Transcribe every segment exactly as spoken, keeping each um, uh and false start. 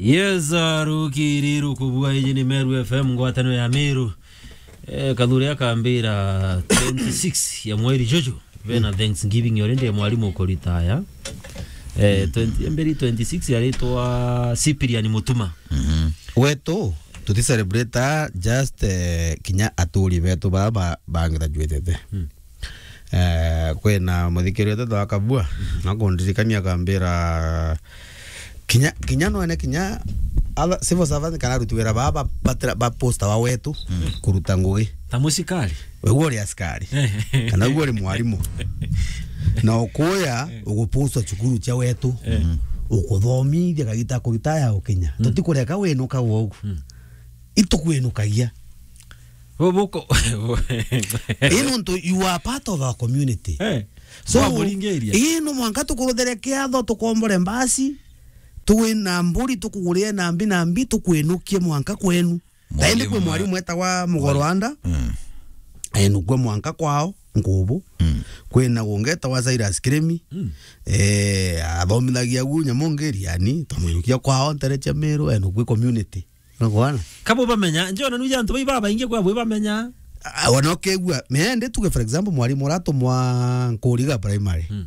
Yes, uh, rukiri rukubua, iji ni Meru F M, ngwataniro ya Meru. Eh, Kathuri akambira twenty-six ya mweri juju, vena Thanksgiving already ya mwarimu ukuritaya. Eh, twenty, mberi twenty-six yaritwa Cyprian Mutuma. Mhm. Wetu, tuti celebrate just, eh, kinya aturi betu baba ba, ba graduatete. Mm. Eh, kwina muthikiri wetu wa Kabua, nakundirikania akambira, kinya, kinya nwene, kinya other civil servant kana aruti wira baba ba, ba, ba posta wa wetu, mm, kuruta ngugi. Ta musikari. We uwe uri askari. Kana uwe uri mwarimu. Na ukuya, eh, ugupostwa cukuru cia wetu. Eh. Ukuthomithia kagita kuruta ya ukinya. Mm. Tutikureka winuka ugu. Mm. Itukwinukagia. Bubuko. Ii nontu you are part of our community. Eh. So, ii no mwanka tukuruthere kiatho, tukombore mbasi, twina mburi, tukugurie nambi nambi, tukwinukie mwanka kwenu. Taindi kwi mwarimu, mwarimu etagwa Mugoroanda. Mm. Enukue mwanka kwao, Nkubu. Mm. Kwina ungi etagwa Cyrus Kirimi. Mm. Eh, athomithagia gu nyamu ngi Riani, twamwinukia kwao ntere cia Meru, enukue community. Nugwana? Kabo bamenya, njona nuja antu bai babaingi kwa bwe bamenya. Ah, ona ukegua, mende tuge for example, mwarimu uratumwa Nkuriga Primary. Hmm.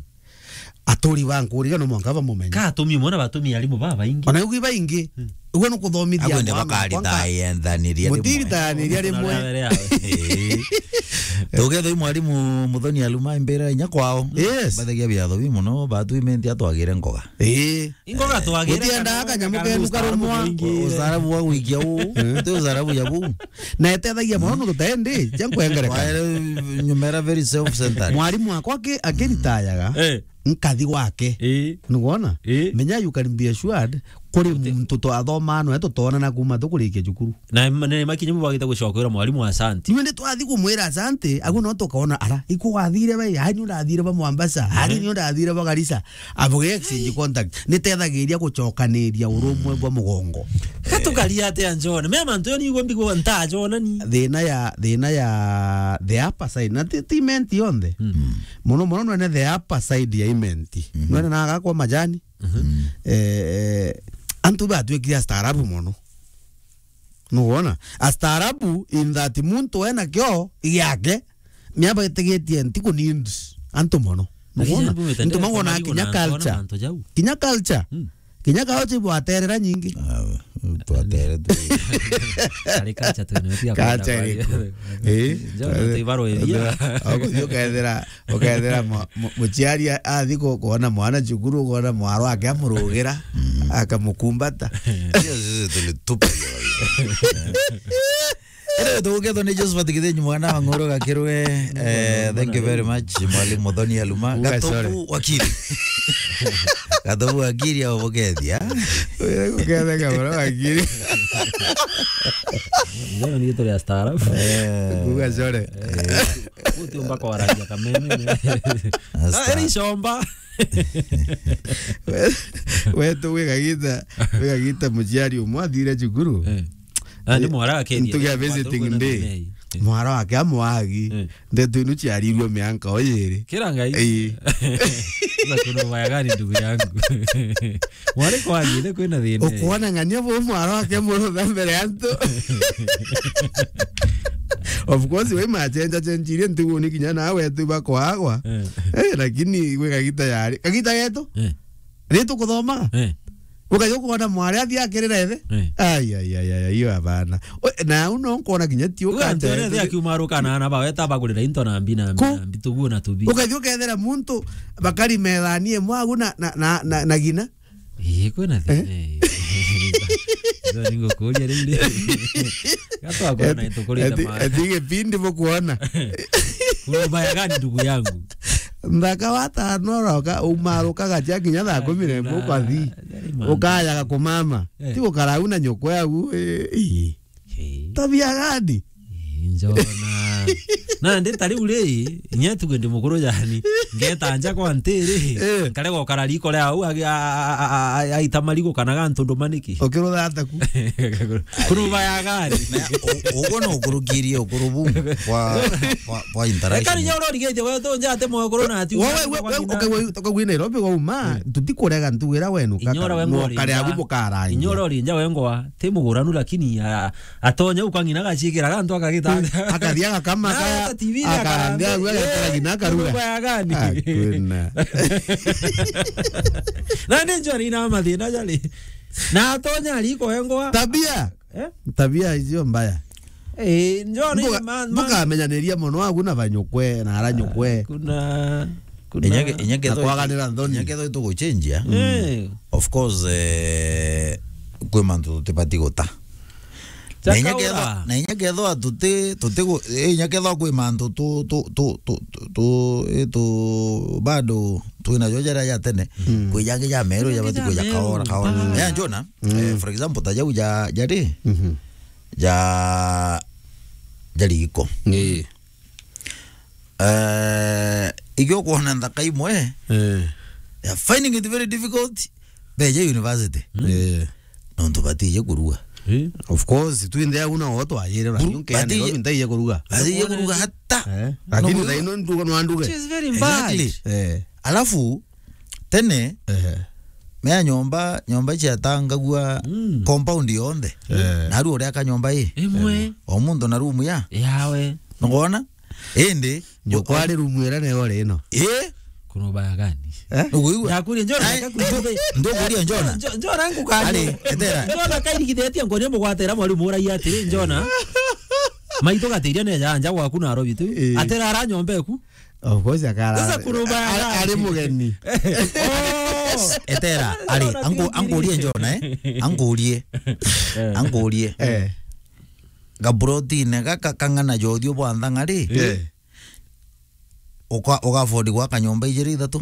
Aturi ba Nkuriga no mwanka bamumenye. Ka atumi mwana batumi arimu babaingi. Ona ugi baingi. Hmm. Uguo ni kuthomithia. Agwe ni mwana bakari mwanka. Tayendaniria rimwe. Mutiritaniria rimwe. Tugetho i mwarimu Muthoni Aluma imbira inya kwao. Yes. Bathagia biatho bi muno, batu imendi atwagire ngoga. Ii. Ingo gatwagire. Utiendaga kanyamu kenu karumwa. Usarabu wa gwikia uu. Ti usarabu ya buu. Na etethagia mono nontu taendi, cia nkwengereka. Kwaere nyumera very self-centered. Mwarimu wakwa aki-, akiritayaga, eh, nkathi gwake. Ii. Nugwona? Ii. Menya you can be assured, kuri muntu twathomaa noe tutonana kuma tukurikia cukuru. Na ma-, ni makinya bwagite gucoka kwira mwarimu asante. Nywende twathi kumwira asante, agu no tukaona, ara, iku wathire bai, ani urathire ba Mombasa, ani ni urathire ba Garissa. Abuge exchange contact. Nitethagiria gucokaniria urumwe bwa mugongo. Ka tukaria atia njone? Me mantu yo ni igwe mbigwa ntajona ni. Thina ya, thina ya the upper side. Na ti, ti Imenti yonthe. Mm. Muno muno nwene the upper side ya Imenti. Mhm. Nwene na agakwa majani. Mhm. Eh, eh, antu batwikire astaarabu muno. Nugwona? Astaarabu in that muntu ena kio giake, mia baitigitie ntiku need antu muno. Nugwona? Ntu magwona kinya culture. Kinya culture. Mm. Kinya culture ibwaterera nyingi. Ah, twatere tu. Ari culture tu, ni tia culture kwenda iriku. Eh? Njo no tu ibaro iria. Oguo ukethira Ukethira mu-, mu-, muciari a-, athi ku-, kuona mwana cukuru, kuona mwaro wake amurugira, mm, akamukumbata. Hiyo sisi tulitupa hiyo. Anyway, tugukethwa ni Josephat Githinyi mwana wa Ng'oro Gakirwe. Eh, thank you very much, Mwalimu Muthoni Aluma. Uga sorry. Gatobu wakiri. Gatobu wakiri au bukethia. Uga guketheka bro wakiri. Ndio ni tuli astaarabu. Eh. Uga sorry. Eh. Utiumba kwaragia kameme. Asta. Ah, eri icomba. We-, wetu wigagita, wigagita muciari umwe athire cukuru. Eh. Ah, ni mwara wake. Ntugia visiting day. Eh. Mwara wake amwagi. Eh. Ndeto inu ciarirwe mianka o yiri. Kira ngai. Ii. Sasa kuna ubaya gani, ndugu yangu? Mwari kwagire kwina thina. Ukuona ng'ania bu mwara wake murutha mbere ya antu. Of course, we machenja chenjirie ntugu ni kinya nawe tu bakwagwa. Eh. Eh, lakini gwi kagita yari. Kagita getu? Eh. Ri tukuthoma? Eh. Ukaja kuona mwari athi akirira ithe? Eh. Ai, ai, ai, ai, ai, iyo abana. O, na au no nkuona kinya ti. Uga ukate. Ntwere ithe akiuma aruka na ana bawe ta bagurira into na mbi na mbi na mbi, tuguo na tubi. Ukathi ukethera muntu bakari methani imwe agu na, na, na, na, na gina. Ii, kwina thina. Eh? Ii. Ndio ningukuria riu ri. Gatwa kwona itukurite ati, ma. Ati gipindi bukuona. Kuna ubaya gani, ndugu yangu? Nthaka wa tano uroka, umarukaga cia kinya thaa kumi na imwe ukathi. Ukayaga kumama. Eh. Ti gukara au na nyoko yau, eh, ii. Ii. Tabia gani? Ii, njona. Na ndi ta riu ri, inya tuge ndi mukuru jani, ngeta nja kwa ntiri, Eh. Nkarega ukara riko ria au, agi-, a-, a-, a-, a-, aita marigu kana gantu nduma niki? Ukirutha ata ku? Kuruba ya gari. Na u-, uguo no ukurukirie ukuru bu kwa, kwa, kwa interaction. Ekari nyo urorigetie we tu njate mwe ukuru na ati. Wewe, we, we, okay, we, we, wi Nairobi wauma, Eh. Tutikurega ntugira wenu, Inyora kaka, we ngori mokare nja. Abu bukarangia. Inyora ori nja we ngwa, ti muguranu lakini, a-, atonya ukang'ina gacikira gantu akagita. Akathia gakama. Na kaya, ata T V ni akarambia, akarambia. Agu agetera Eh, ng'ina akaruga. Kuruba ya gani? Hakuna. Na ni njori na mathina jari. Na atonya riko engwa. Tabia. Eh? Tabia icio mbaya. Eh, njona Mbuga-, ni ma-, ma-, mbukamenyaniria mono agu na banyukwe, na aranyukwe. Kuna, kuna Inyake, inyake Na tho-, kwaganira nthoni. Inyake tho ituguchenjia. Eh. Of course, eh, kwi mantu tutibati guta. Na inya Chakaura. Kethwa, na inya kethwa tuti, tuti gu-, eh, inya kethwa kwi mantu tu, tu, tu, tu, tu, tu, eh, tu, bado twina jo jaria ja tene, Mm. Kwi jangi ja meru, Kwi ja jangi bati ja kwi ja meru. Kaora, kaora. Mm. Ya njona, Mm. Eh, for example, ta jau ja, ja ri? Mhm. Ja, ja riko. Ii. Eh, igio kwona nthaka imwe, Eh. They are finding it very difficult beje university. Mm. Eh. Nontu batije kuruga. Eh. Of course, twinthe au na o twayire, Buru-, lakini Kenya batije, Nairobi ntaije kuruga. Batije kuruga hata. Eh. Lakini no thaino nduga no anduge. Which is very bad. Exactly. Eh. Alafu, tene, Ehe. Mea nyomba, nyomba ciatangagua Mm. Compound yonthe. Eh. Na aru uria ka nyomba i. Imwe. O muntu na room ya. Yawe. Nugona? Indi, Nyo kwari room ira nayo ri ino. Eh? Kuna ubaya gani? Eh? Nuguigua? Ndakuri njona. Ai, ndu-, ndukuria njona. Njo-, njona ngukani. Ari, etera. Njona kairigithitie ngoni mugwatira mwarimu uragia atiri, njona. Maitu gatiria ne ja nja gwaku na robi tu. Eh. Atera ara nyomba eku. Of course, akara. Sasa kuna ubaya gani? Ari mugeni. Oh. Etera, ari, angu-, angurie njona, eh? Angurie. Eh. Angurie. Eh. Gaburotine gaka kang'ana jothio bwa nthang'a ri? Eh. Uka-, uka afford gwaka nyomba ijiri ithatu?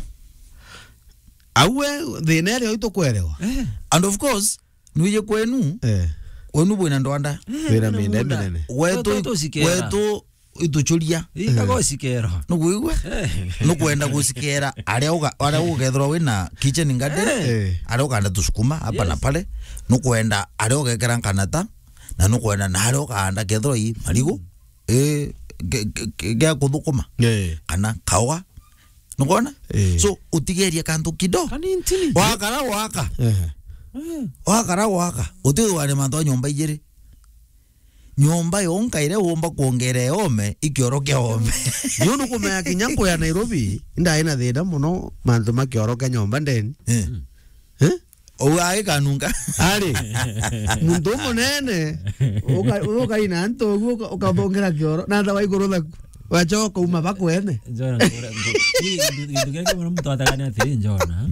Au we, thina iria itukwerewa. Eh. And of course, nwije kwenu, Eh. Kwenu bwina ndwanda. Eh, wina minda minda. Minene. Wetu, tu-, tu-, tucikera. Wetu ituchuria. Ikago Eh. Cikero. Nukwigua? Eh. Nukwenda gucikera aria uga-, aria ugethirwa wina kitchen garden, Eh. Aria ukanda tusukuma hapa na Yes. Pale. Nukwenda aria ugekera nkanata, na nukwenda na aria ukanda kethirwa i marigu, eh, ge-, ge-, ge-, gea kuthukuma. Eh. Kana kawa. Nukona? Eh. So, utigeria kantu kido. Kanintini. Wakara waka. Eh. Eh. Wakara waka. Uti wari mantu a nyomba ijiri. Nyomba yonka iria womba kwongera ome, ikioro kia ome. Niu nukumenya kinya nkuya Nairobi, indai na thina muno mantu ma kioro kia nyomba ndeni. Eh. Eh? Ou agikanunga. Ari, muntu umunene, uka-, ukaina antu uguo, uka-, ukabongera kioro, na tha wa iguru thaku. Wachoka uma bakwene. Njona ngura, ngu-, ni gintu, gintu kia kimwe muntu atagania atiri, njona.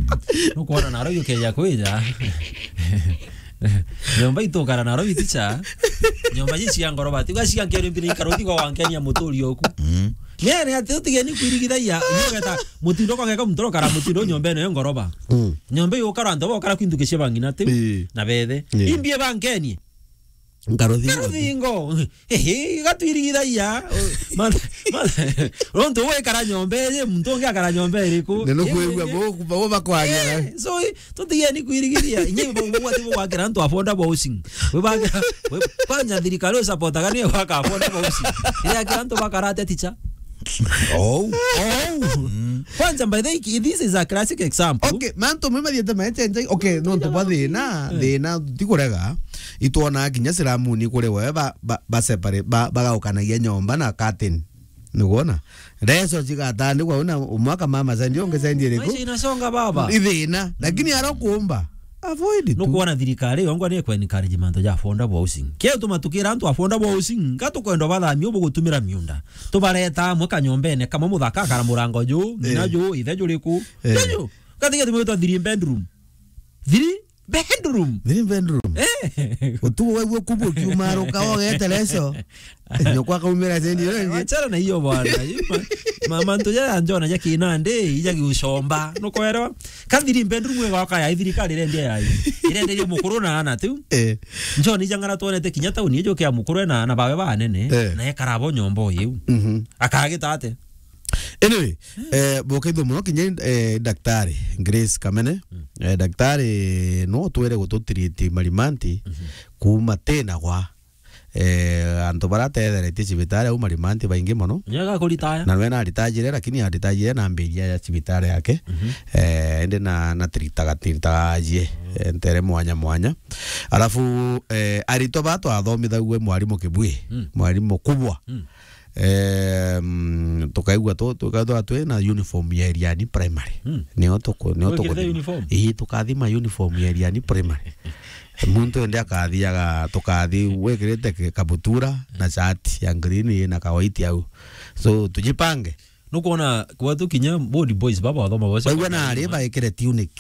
Nukwona naro yukeja kwija. Nyomba itukara naro iticha. Nyomba ici cia ngoroba. Tiga cia nkeni mpini ikaro tiga wankenia muturi oku. Mm. Nene ati utigeni kwirigithagia. Nugeta mutindo kogeka mutoro kara mutindo nyomba ene yo ngoroba. Mm. Nyomba iyo ukara antu bokara kwintu kisheba ngina ti. Ii. Na bethe. Ii. Imbie bankenie. Nkaruthingo. Nkaruthingo. Ehe, gatwirigithagia. Ma-, ma-, nontu wekara nyomba iji, muntu ungi akara nyomba iriku? Ni nukwigua bo, bo bakwaria. Eh, so, i-, tutigeni kwirigithia. Inye bo, bo, ati bugwakira antu affordable housing. We bakira, we, kwanza thirikari usapotaga ni gwaka affordable housing. Iria kira antu bakara atia ticha? Oh. Oh. Mm. Kwanza, by the way, this is a classic example. Okay, mantu mwe mathiete maechenjai. Okay, nontu bwa thina, eh, thina tikurega. Itwona kinya siramuni kuri we ba, ba, ba separate, ba, bagaukanagia nyomba na curtain. Nigwona? Reso cigatandikwa una umwe akamama sendi ungi sendi iriku? Maisha inasonga baba. Ithina, lakini aro kuumba. Avoid tu. Nukwona thirikari yongwa ni ekwa encourage mantu ja affordable housing. Kio tumatukira antu affordable housing, nga tukwenda bathamio bugutumira miunda. Tubareta amwe kanyombene kamwe muthaka akara murango ju, ngina, eh, ju, ithe juriku. Eh. Ju. Katiga tumwita three bedroom. Three Bedroom. Three bedroom. Eh. Utuku waigua kubu ukiumaruka, wogetereco. Nyoko akaumira sendi iyo ingi. Achana na hiyo bwana. Hiyo ma-, ma-, mantu jaya njona ja kinandi, ija giucomba. Nukwelewa? Ka three bedroom igoka ya thirikari irendia ya. Irenderia mukuru na ana tu. Eh. Njona ija ng'ara twonete kinya tauni ijo kia mukuru na, na bawe banene. Eh. Na ekara bo nyomba iu. Mhm. Akagita ate? Anyway, eh, bokethua muno kinya, eh, daktari Grace Kamene. Mm. Eh, daktari no twere gututreat marimanti. Mhm. Kuuma tena gwa, eh, antu bara tetheretie cibitari au marimanti baingi mono. Nyaga kuritaya. Na we na aritayire, lakini aritayire na mbiria ya cibitari yake. Mhm. Eh, indi na, na tritaga, tritaga ajie, eh, ntere mwanya mwanya. Alafu, eh, aritwa ba twathomithagua mwarimu Kibui, mm, mwarimu kubwa. Mm. Em, tukaigua tu-, tukaigua twi na uniform ya Iriani Primary. Mm. Nio tuku-, nio Gwikirite tukuthima uniform? Ii, tukathima uniform ya Iriani Primary. Muntu ende akathiaga, tukathi wikirite ki-, kabutura na shirt ya green ina ka white au. So, tujipange. Nukwona kwa tu kinya old boys baba wathoma bose. Baigua na ari baikire tunic.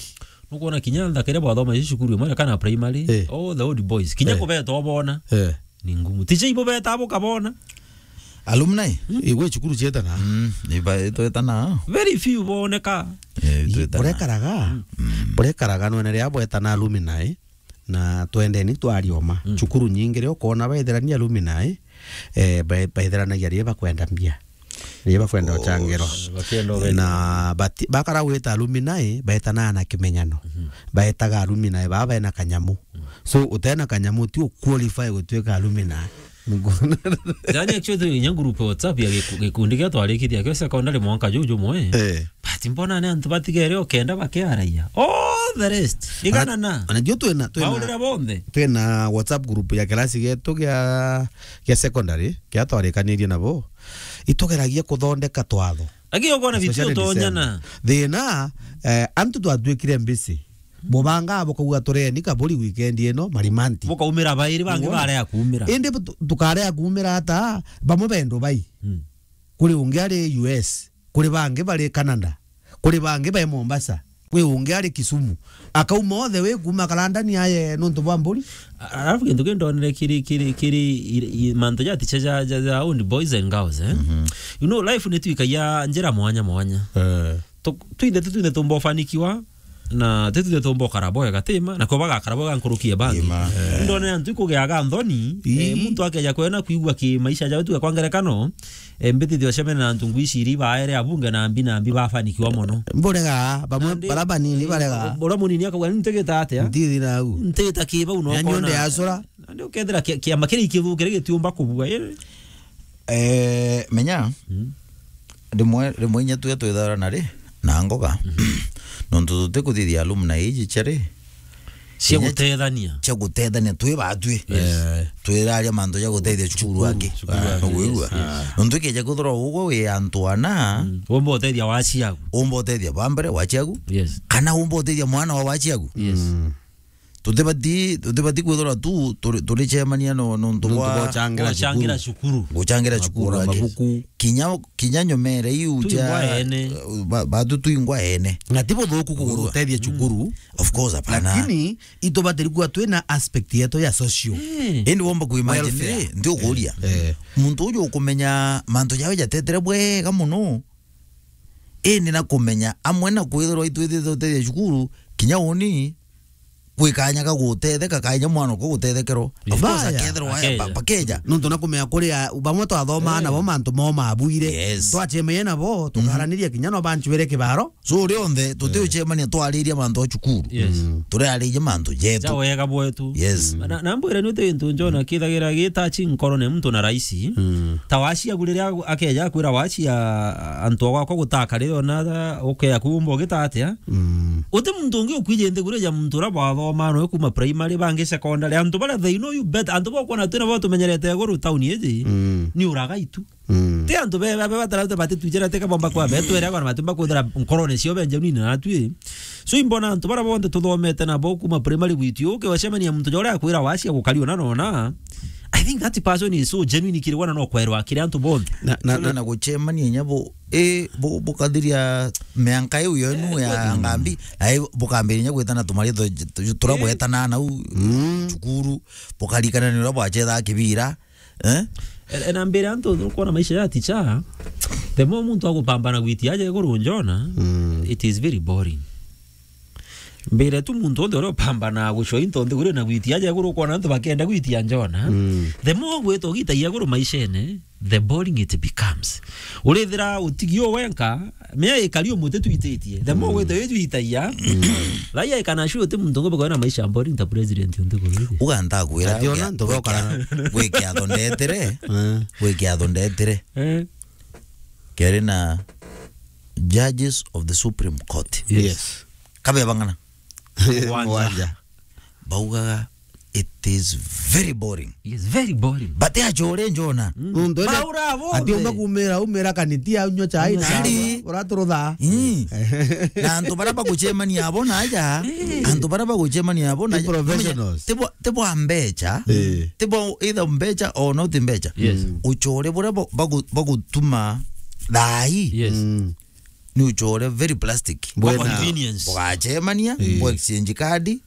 Nukwona kinya nthakire bwathoma ici cukuru imwe kana primary. Eh. Oh, the old boys. Kinya, eh, kubeta obona. Eh. Ni ngumu. Ticha ibo beta abo kabona. Alumni? Hmm? Igwe cukuru cietana. Mm, iba itwetana. Very few boneka. Eh, i-, twetana. Burekaraga. Mm. Burekaraga nwene ria bwetana alumni. Na twendeni twarioma. Mm. Cukuru nyingi ria ukona baithirania alumni, eh, ba-, baithiranagia ria bakwenda mbia. Ria bakwenda, oh, uchangirwa. Bakienda ubethia. Na bati-, bakara gwita alumni, baetanaga na kimenyano. Mhm. Baetaga alumni baa bena kanyamu. Mm. So, utena kanyamu, ti u qualify gutuika alumni. Yani, actually, inya group ya WhatsApp ya giku-, gikundi kia twarikithia kio secondary mwanka juu jumwe. Eh. But mbona ni antu batigere o kenda bakiaraia? All the rest. Igana na. Ana-, ana juu twina, twina, baurira bonthe. Twina WhatsApp group ya kirasi gietu gia, gia secondary, kia twarikanirie nabo. Itugeragia kuthondeka twatho. Lakini ukwona vitu, especially utonyana. December. Thina, eh, antu twatuikire mbisi. Bubanga bukauga tureni kaburi weekend ino, marimanti. Bukaumira bairi bangi. Wona? Barega kuumira. Indi bu-, tu-, tukarega kuumira ata, bamwe bendo bai. Mm. Kuri ungi ari U S, kuri bangi bari Canada, kuri bangi bai Mombasa, kwi ungi ari Kisumu. Akauma othe wi kuuma karandani aye nontu bwa mburi. A-, alafu kintu ki ndonere kiri, kiri, kiri i-, i-, mantu ja ticha ja, ja, ja own boys and girls, eh? Mhm. You know, life ni twikagia njira mwanya mwanya. Eh. Tu-, twinthe tu, twinthe tumba ufanikiwa, na ti twinthe tumba ukara bwega, tima, na ko bagakara bwega nkuruki ya bangi. Ima. Eh. Ndone antu ikugiaga nthoni, ii, eh, muntu akeja kwena kwigua ki maisha jao tu kwa ngerekano, eh, mbitithio cemene na antu ngwiciri baere abunge na mbi na mbi bafanikiwa mono. Mburega, bamwe nandi, bara banini, eh, barega. Bora munini akauga, "Ntigita atia? Ntithi nau. Ntigita ki bau no." Yani kona onde acura. Nandi ukethira ki-, kiama kiri ikithukire gitiumba kubua, eh. Eh, menya, mm, rimwe, rimwe inya twe twithara na ri, na ngoga. Mhm. Nontu tutikuthithia alumni iji cia ri, cia inya gutethania. Cia gutethania, twi batwi. Yes. Eh. Twiraria mantu ja gutethia cukuru angi. Cukuru angi, nukwigua? Yes, yes. Nontu ikeja kwithirwa ugwe wi antu ana. Mm. Umba utethia waciagu. Umba utethia ba mbere waciagu. Yes. Kana umba utethia mwana wa waciagu. Yes. Mm. Tutibati, tutibati kwithirwa tu turi, turicemania no, nontu bwa gucangira cukuru. Gucangira cukuru. Gucangira cukuru angi. Mabuku. Kinya, kinya nyomere iu cia, eh, ba-, batu twingwa ene. Na ti buthuku kugura utethia cukuru. Of course, hapana. Lakini itubatiri kuwa twina aspect yetu ya social. Eh. Indi womba kuimagine, welfare. Ndi ukuria. Eh. Muntu uju ukumenya mantu jawe jatetere bwega mono. Indi na kumenya amwe na kwithirwa itwithite utethia cukuru, kinya uni kwi kanya ka gutetheka, kanya mwana ko gutethekerwo. Of course, baya. Akethirwa aya, akeja. Ba-, bakeja. Nontu na kumenya kuri a-, bamwe twathomaa, eh, nabo mantu mo mabuire. Yes. Twacemeye nabo, mhm, tukaraniria kinya no banchwere kibaro. So, rionthe, tutiucemania twariria mantu a cukuru. Yes. Mm. Turiariria mantu jetu. Ja wega bwetu. Yes. Na, na mbwire ni uti gintu njona kithagira gitachi nkorone muntu na raisi. Mm. Ta waciagu riria akeja akwira wacia antu agwakwa gutaka riria ona ukea kumba ugita atia? Mm. Uti muntu ungi ukwiji nthiguru ya muntu uria bwathoma noe kuma primary, bangi secondary. Antu baria they know you better. Antu bakwona twina bo tumenyerete iguru tauni iji. Mm. Ni uragai tu. Mm. Ti antu be, be, be batara te bati tujera te kabomba kwa be twere kwa matu mba kuthira nkorone cio benje nini na tui. So imbona antu bara bonthe tuthomete na bo kuma primary gwitu uke wacemania muntu jore akwira wacia gukari ona nona. I think that person is so genuine kiri wana no kwerwa kiri antu bonthe. Na, na, Tuna na na gucemania inya bu, e, bu, bukathiria mianka iu yenu ya ngambi, na i, bukambiria inya gwitana tumaritho tu-, turia bwetana nau cukuru, bukarikana ni uria bwachethaga kibira, eh? E, e, na mbere antu nukwona maisha ya ticha, the more muntu agupambana gwitia aja iguru njona, it is very boring. Mbere tu muntu onthe uria upambanaga gucwa into nthiguru na gwitia aja iguru, ukona antu bakenda gwitia njona. The more gwita ugitagia iguru maishene, the boring it becomes. Urithira utigi u wenka, mea ikari umuti twititie. The more gwita ujwitagia, raia ikana sure uti muntu ngombe kwona maisha boring ta president o nthiguru. Uga ntakwira, Ati ona gwikia-, ntu bokara. Gwikia-, gwikia atho ndetire, Eh. Gwikia atho ndetire. Eh. Keri na judges of the Supreme Court. Yes. Yes. Kabe bang'ana. Mugwanja. Mugwanja. Baugaga, "It is very boring." Yes, very boring. But achore njona. Mm. Nuntu ene Baura bo. Ati umba kumira, umira kaniti ya unywa chai na Chai. Uraturutha. Mm. Na antu bara bagucemania abo na aja, Eh. Antu bara bagucemania abo na Ni aja, professionals. Tibo, tibo ambecha. Eh. Tibo either mbecha or not mbecha. Yes. Mm. Uchore bura bo-, bagu-, bagutuma thai. Yes. Mm. Ni uchore very plastic. Bwena Convenience. Bugacemania, Eh. Bu exchange card,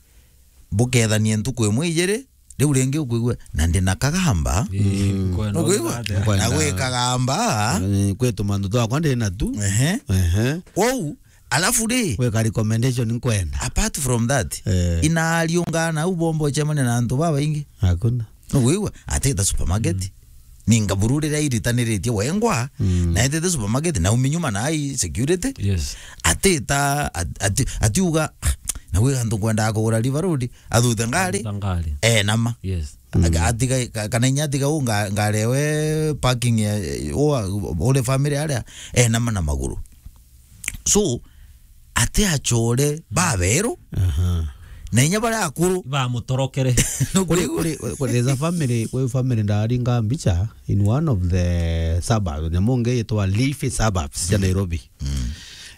bukethania ntuku imwe ijiri, riu ringi ukwigua, "Na ndi na kagamba." Eh, nkwenda Nukwigua? Nkwenda. Na gwi kagamba. Eh, kwi tumantu twakwa ndi na tu. Ehe. Ehe. Kwou, alafu ri, Gwika recommendation nkwenda. Apart from that, Eh. Inariungana u bombo uchemania na antu babaingi. Hakuna. Nukwigua? Atita supermarket. Mm. Ninga buru riria iritaniritie wengwa, Mm. Na etete supermarket, na umi nyuma na ai security. Yes. Atita, at-, ati-, atiuga, "Ah, na gwi antu nkwendaga kugura River Road," athute ngari. Athute ngari. Eh, nama. Yes. Mm. Aga-, atiga, ka-, kana inya atiga u nga-, ngari ewe parking ya, u a-, ule family aria, eh, nama na maguru. So, ati achore baberu, Aha. Na inya baria akuru. Bamutorokere. Kuri, kuri, kuri, there's a family, kuri family ndaringa mbicha in one of the suburbs. Nyamu nge yitwa Leafy Suburbs cia Nairobi. Mm.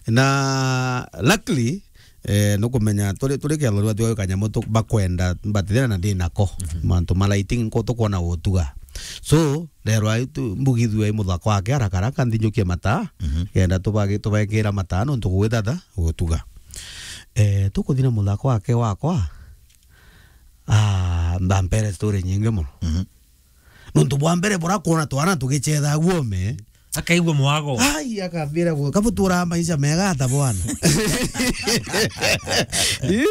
Na luckily, eh, nukumenya turi, turi kiatho riu atiwa kanyamu tu, bakwenda, batithira na ndi nako. Mhm. Mantu ma lighting nko tukwona gutuga. So, rero ai tu, mbugithua i muthako wake haraka haraka, nthinjukie mataa, Mhm. Kenda tubagi-, tubekira mataa nontu gugwithatha gutuga. Eh, tukuthi na muthako wake wakwa, ah, mbampere story nyingi muno. Mhm. Nontu bwa mbere bura kwona twana tugichetha guome. Akaigua mwago. Ai, akambira gu-, kabu tura maisha mega ata bwana. Eh?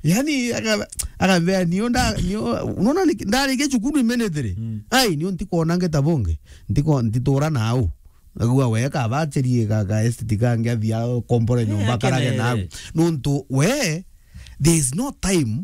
Yani, aka-, akambira, "Nio nda-, nio, unaona ni-, ndarikia cukuru imenethere. Mm. Ai, nio ntikwona ngeta bonge. Ntiko-, ntitura nau." Agua we kabacherie ga, ga estate kangi athia kompore nyomba karage nau. Nontu we, there is no time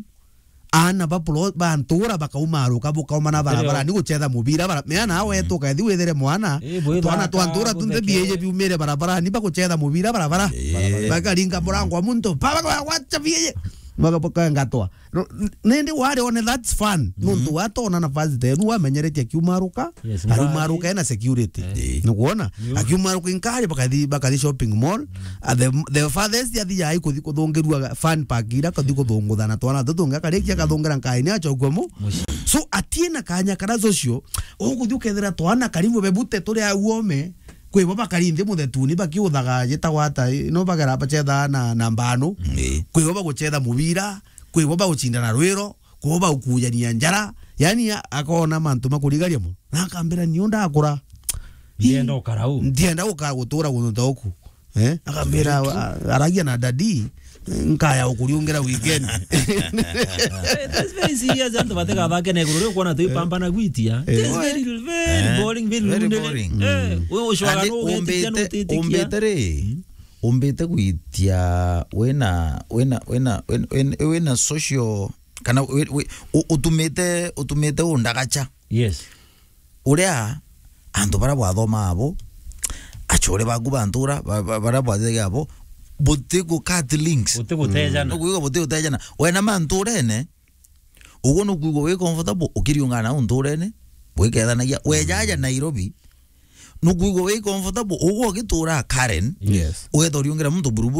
ana ba pro-, ba ntura bakaumaruka, bukaumana barabara, ni guchetha mubira bara-, mea na wetu kethi withere mwana, twana twa ntura tunthe bieye biumire barabara, ni baguchetha mubira barabara. Eh. Bakaringa murango wa muntu, baba gwacha bieye. Baka-, bakangatwa. No, n-, nindi wari one that's fun. Mhm. Nontu watona nafasi tenu, wamenyeretie akiumaruka, yes, arumaruka ena security. Eh. Nukwona? Akiumaruka inkari, bakathi, bakathi shopping mall. Ah, the, the farthest yathi yai kuthi kuthungirua fan park ira, kathi kuthungutha na twana tutungi, akarikia akathungira nkaini achokua mu. So, atiena kanya kara social, ukuthi ukethira twana karibu bebute turi au ome, kwi bo bakari nthi muthetuni bakiuthaga jitagwa ata, no bagera bachetha na, na mbanu. Kwi bo baguchetha mubira, kwi bo bagucindana rwiro, kwi bo bagukujania njara. Yani, a-, akona mantu makurigaria muno. Na akambira, "Nio ndakura. Ndienda gukara u. Ndienda gukara gutura guntu ta uku." Eh? Akambira, a-, aragia na daddy, "Nkaya ukuriungira weekend." Eh, that's very serious, antu batega bake na iguru riu kwona twi pambana gwitia. Eh. It's very, very boring, very lonely. Eh, we ushwaga no ugetikia no utitikia. Umbite ri, umbite gwitia wina, wina, wina, wina, wina, wina social, kana wi-, wi-, u-, utumite, utumite undagacha. Yes. Uria antu bara bwathoma abo, achore baku ba ntura, ba-, ba-, bara bwathege abo, buti gu cut links. Buti gutejana. Nukwigua buti gutejana. Wena ma nturene, uguo nukwigua wi comfortable, ukiriungana nau nturene, bwikethanagia. Wejaja Nairobi, nukwigua wi comfortable, uguo ugitura Karen, yes, ugethoriungira muntu buruburu.